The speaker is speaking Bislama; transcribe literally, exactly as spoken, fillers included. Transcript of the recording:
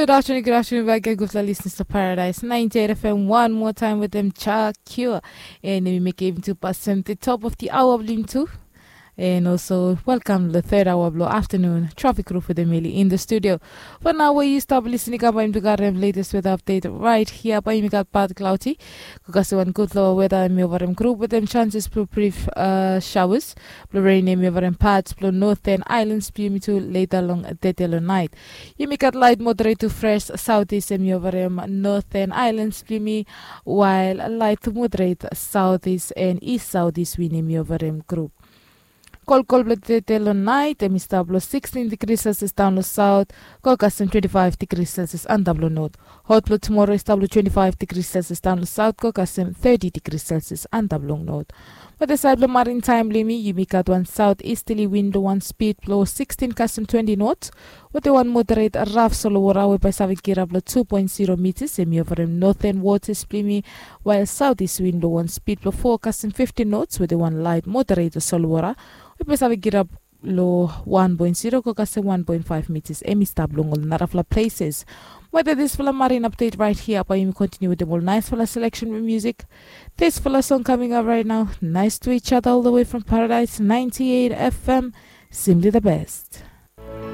Good afternoon, good afternoon back again, gutfala listeners to Paradise ninety-eight F M. One more time with them, Cha Cure. And we make even to pass them the top of the hour of Lim too. And also, welcome the third hour of the afternoon. Traffic crew for the Meli in the studio. For now, where you stop listening up, I'm to got them latest weather update right here. But you got bad cloudy. Ko kasi wan gutfala weather, hemi ova hem group with them chances for brief uh, showers. Blong rain, hemi ova hem parts blong northern islands blong yumi tu later long dede long night. Yumi gat light moderate to fresh southeast, hemi ova hem northern islands blong yumi, while light to moderate southeast and east southeast wind, hemi ova hem group. Kolkol blong dede long night, hemi stap long sixteen degrees Celsius down long south, ko kasem twenty-five degrees Celsius antap long north. Hot blong tomorrow i stap long twenty-five degrees Celsius down long south, ko kasem thirty degrees Celsius antap long north. Wetem saed blong marin taem blong yumi, yumi gat wan southeasterly wind blong wan speed blong sixteen kasem twenty knots, wetem wan moderate raf solowora we bae save kirap long two point zero meters, hemi ova hem northern waters blong yumi, while southeast wind blong wan speed blong four kasem fifteen knots wetem wan light moderate solowora we bae save kirap long one point zero ko kasem one point five meters, hemi stap long ol narafala places. Wetem disfala marin update right here, bae yumi continue wetem ol nicefala selection blong music. Disfala song coming up right now. Nice to each other all the way from Paradise ninety-eight F M. Simply the best.